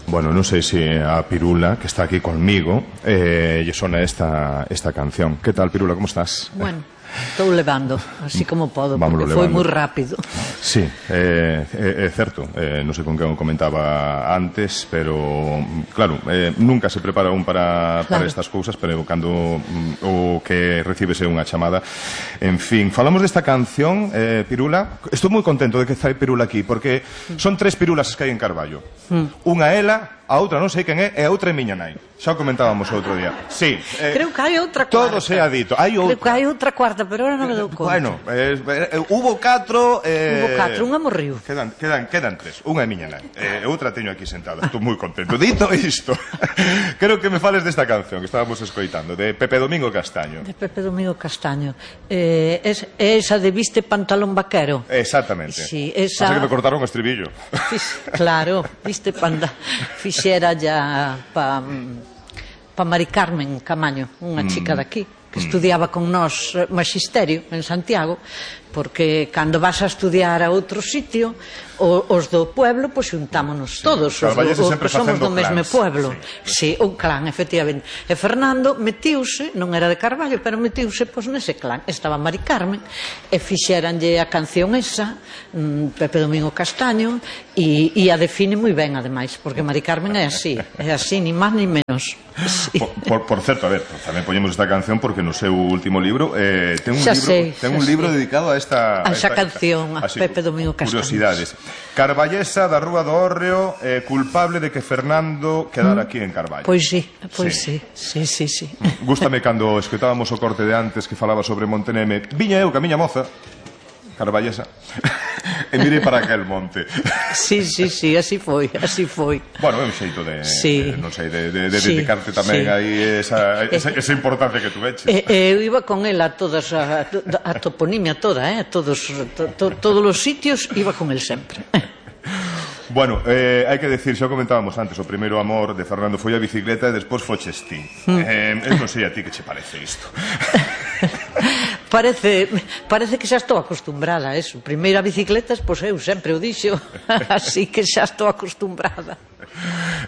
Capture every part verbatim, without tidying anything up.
Bueno, non sei se a Pirula, que está aquí conmigo, eh, lle sona esta, esta canción. Que tal, Pirula, como estás? Bueno, estou levando, así como podo, Vámonos porque foi levando. moi rápido. Sí, eh, é, é certo, eh, non sei con quen o comentaba antes, pero, claro, eh, nunca se prepara un para, para Claro. estas cousas, pero cando mm, o que recibese unha chamada. En fin, falamos desta canción, eh, Pirula. Estou moi contento de que fai Pirula aquí, porque son tres Pirulas que hai en Carballo. Unha ela, a outra non sei quen é, e a outra é miña nai. Xa o comentábamos outro día. Sí. Eh, Creo que hai outra cuarta. todo se ha dito. Hai outra. Creo que hai outra cuarta, pero ahora non me dou conta. Bueno, eh, eh, hubo catro... Eh, Hubo catro, unha morriu. Quedan, quedan, quedan tres. Unha é miña nai. Eh, outra teño aquí sentada. Estou moi contento. Dito isto, creo que me fales desta canción que estábamos escoitando, de Pepe Domingo Castaño. De Pepe Domingo Castaño. Eh, es, esa de viste pantalón vaquero. Exactamente. Sí, esa... Pasa que me cortaron o estribillo. Fix, claro, viste panda fixera ya pa, pa Mari Carmen Camaño, unha chica daqui que estudiaba con nós magisterio en Santiago, porque cando vas a estudiar a outro sitio, o, os do pueblo, pois xuntámonos todos, os, Carballeses do, os sempre que somos facendo do mesmo clans. pueblo. Sí, Sí, un clan, efectivamente. E Fernando metiuse, non era de Carballo, pero metiuse pois nese clan. Estaba Mari Carmen e fixeranlle a canción esa, mm, Pepe Domingo Castaño, e, e a define moi ben, ademais, porque Mari Carmen é así, é así, ni máis ni menos. Sí. Por, por, por certo, a ver, tamén poñemos esta canción porque no seu último libro eh, ten un Xa libro, sei, ten xa un libro sei. dedicado a esta A esa esta- canción, a así, Pepe Domingo Castaño. Curiosidades. Carballesa da Rúa do Hórreo, eh, culpable de que Fernando quedara aquí en Carballo. Pois sí, pois Sí. sí, sí, sí, sí. Gústame cando escoitábamos o corte de antes que falaba sobre Monteneme. Viña eu, que a miña moza, carballesa, e mirei para aquel monte. Sí, sí, sí, así foi, así foi. Bueno, é un xeito de, Sí. de non sei, de, de, de Sí, dedicarte tamén sí. aí esa, esa, esa importancia que tú veches. E, e eu iba con ela a todas a, a toponimia toda, eh, a todos to, to, todos os sitios iba con el sempre. Bueno, eh, hai que decir, xa o comentábamos antes, o primeiro amor de Fernando foi a bicicleta e despois foches ti. Mm. Eh, eu non sei a ti que che parece isto. Parece, parece que xa estou acostumbrada a eso. Primeiro a bicicletas, pois eu sempre o dixo, así que xa estou acostumbrada.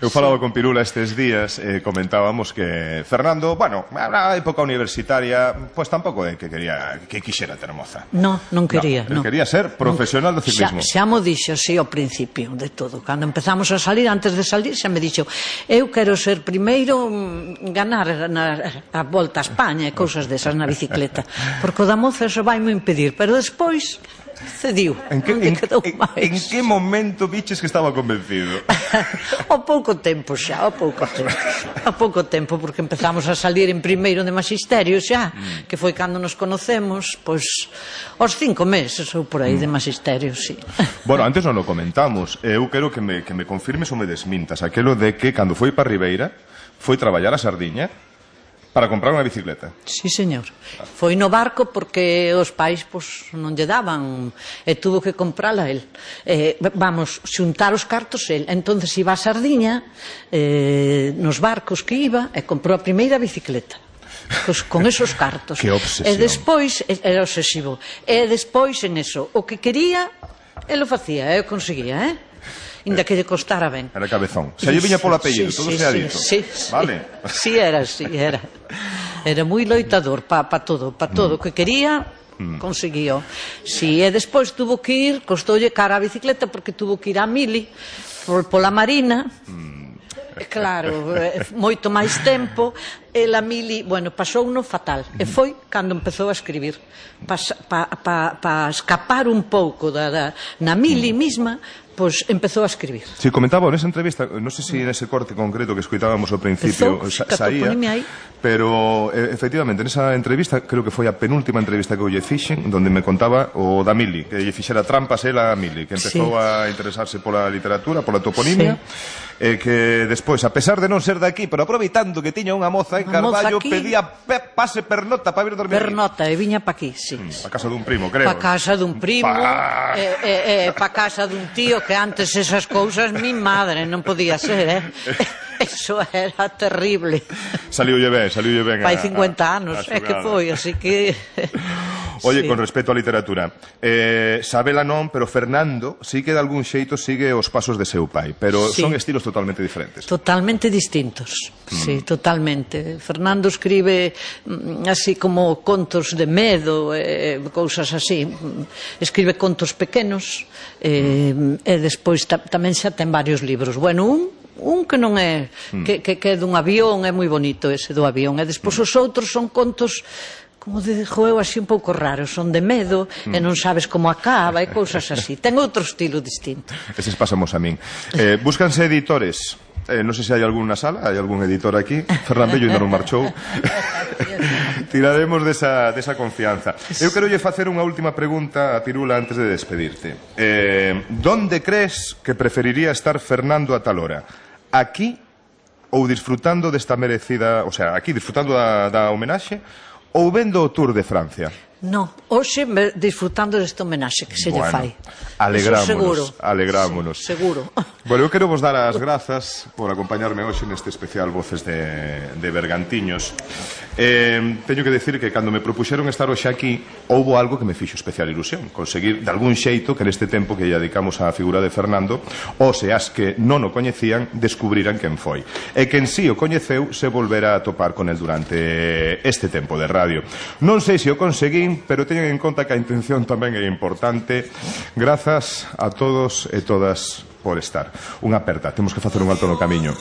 Eu falaba con Pirula estes días e eh, comentábamos que Fernando, bueno, na época universitaria, pois pues, tampouco é que quería que quixera ter moza. No, non quería, No, no. quería ser profesional do Xa, ciclismo. xa mo dixo, sí, ao principio de todo. Cando empezamos a salir, antes de salir, xa me dixo, eu quero ser primeiro mm, ganar na, a volta a España e cousas desas na bicicleta, porque o da moza eso vai mo impedir, pero despois cediu, En que, non lle en, quedou en, máis. en que momento biches que estaba convencido? Ao pouco tempo xa, ao pouco tempo. Ao pouco tempo, porque empezamos a salir en primeiro de magisterio xa, que foi cando nos conocemos, pois, aos cinco meses ou por aí de magisterio, sí. Bueno, antes non o comentamos. Eu quero que me, que me confirmes ou me desmintas aquelo de que cando foi para Ribeira foi traballar a Sardiña para comprar unha bicicleta. Sí, señor. Foi no barco porque os pais pois, non lle daban e tuvo que comprala el. Eh, vamos, xuntar os cartos el. Entonces iba a Sardiña eh, nos barcos que iba e comprou a primeira bicicleta. Cos, con esos cartos. Que obsesión. E despois, era obsesivo. E despois en eso, o que quería, el o facía, e o conseguía, eh? Inda que lle costara ben. Era cabezón. Se lle viña polo apellido, todo se ha dito. Sí, sí. Vale. Sí, era, sí, era. Era moi loitador pa, pa todo, pa todo. O que quería, conseguío. Si, e despois tuvo que ir, costoulle cara a bicicleta, porque tuvo que ir a Mili, por, pola Marina. E claro, eh, moito máis tempo. E a Mili, bueno, pasou no fatal. E foi cando empezou a escribir. Pa, pa, pa, pa escapar un pouco da, da, na Mili misma, pois empezou a escribir. Si, comentaba nesa entrevista, non sei se nese corte concreto que escoitábamos ao principio Empezou, sa, saía, catoponimia aí. pero eh, efectivamente nesa entrevista, creo que foi a penúltima entrevista que eu lle fixen, donde me contaba o da Mili, que lle fixera trampas ela a Mili, que empezou Sí. a interesarse pola literatura, pola toponimia, e que despois, a pesar de non ser daqui, pero aproveitando que tiña unha moza en Unha moza Carballo, aquí. pedía pe, pase pernota para vir dormir. Pernota, e viña pa aquí, sí. A casa dun primo, creo. Pa casa dun primo, Pa- e, e, e pa casa dun tío que antes esas cousas, mi madre, non podía ser, eh? Eso era terrible. Saliulle ben, saliulle ben. Fai a- cincuenta a- anos, a é que xogada. foi, así que... Oye, Sí. con respecto á literatura, eh, Sabela non, pero Fernando sí que de algún xeito sigue os pasos de seu pai, pero Sí. son estilos totalmente diferentes. Totalmente distintos, sí, totalmente. Fernando escribe mm, así como contos de medo, eh, cousas así. Escribe contos pequenos, eh, e despois ta, tamén xa ten varios libros. Bueno, un un que non é que, que, que é dun avión, é moi bonito ese do avión, e despois os outros son contos, como digo eu, así un pouco raros, son de medo e non sabes como acaba e cousas así. Ten outro estilo distinto. Eses pasamos a min. Eh, búscanse editores. Eh, non sei se hai algún na sala, hai algún editor aquí. Ferran Bello ainda non marchou. Tiraremos desa, desa confianza. Eu quero lle facer unha última pregunta a Pirula antes de despedirte. Eh, donde crees que preferiría estar Fernando a tal hora? Aquí ou disfrutando desta merecida, o sea, aquí disfrutando da, da homenaxe ou vendo o Tour de Francia? No, hoxe me- disfrutando deste homenaxe que se lle Bueno, fai. alegrámonos, Eso seguro. alegrámonos. Sí, seguro. Bueno, eu quero vos dar as grazas por acompañarme hoxe neste especial Voces de, de Bergantiños. Eh, teño que decir que cando me propuxeron estar hoxe aquí houbo algo que me fixo especial ilusión, conseguir de algún xeito que neste tempo que lle dedicamos á figura de Fernando, os e as que non o coñecían descubriran quen foi, e quen si o coñeceu se volverá a topar con el durante este tempo de radio. Non sei se o conseguín, pero teñen en conta que a intención tamén é importante. Grazas a todos e todas por estar. Unha aperta, temos que facer un alto no camiño.